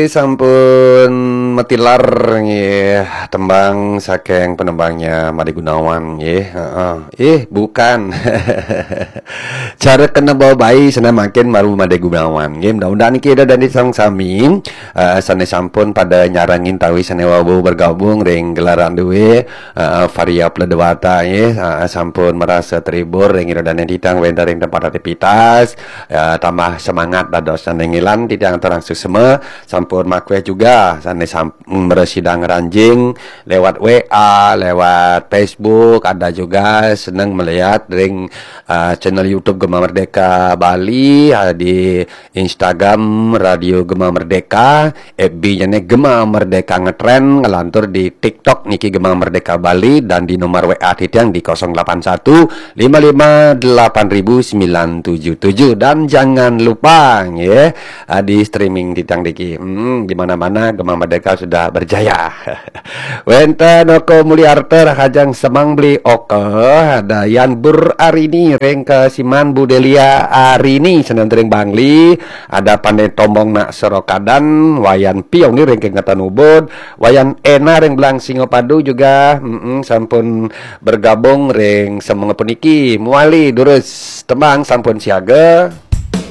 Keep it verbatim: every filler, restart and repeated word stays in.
Sampun matilar nggih tembang saking penembangnya Made Gunawan nggih. Heeh. Ih, bukan. Cara kena bawa bayi sana makin maru Made Gunawan nggih. Mudah-mudahan niki Ida dané sareng sami eh, sané sampun pada nyarengin tawi sané wau bergabung ring gelaran duwe eh, Varia Pledewata nggih. Eh, sampun merasa terhibur ring Ida dané titang wénten ring tempat aktivitas. Eh, tambah semangat dados sané ngilan titang terang suksema. Sampun makweh juga sané sam mresidang ranjing lewat W A, lewat Facebook, ada juga seneng melihat ring uh, channel YouTube Gema Merdeka Bali, uh, di Instagram Radio Gema Merdeka, F B-nya nih Gema Merdeka Ngetren, ngelantur di TikTok niki Gema Merdeka Bali, dan di nomor W A titiang di kosong delapan satu lima lima delapan ribu sembilan tujuh tujuh. Dan jangan lupa ya, uh, di streaming titiang diki. Hmm, di mana-mana Gema Merdeka sudah berjaya. Wénten Oko Mulyarta, Rahajeng Semang Beli Oka, ada Yan Bur Arini ring Kasiman, Bu Delia Arini seneng ring Bangli, ada Pandé Tombong Nak Serokadan, Wayan Piong ring Kengetan Ubud, Wayan Ena ring Belang Singapadu juga mm, sampun bergabung ring semenga puniki. Muali durus tembang sampun siaga.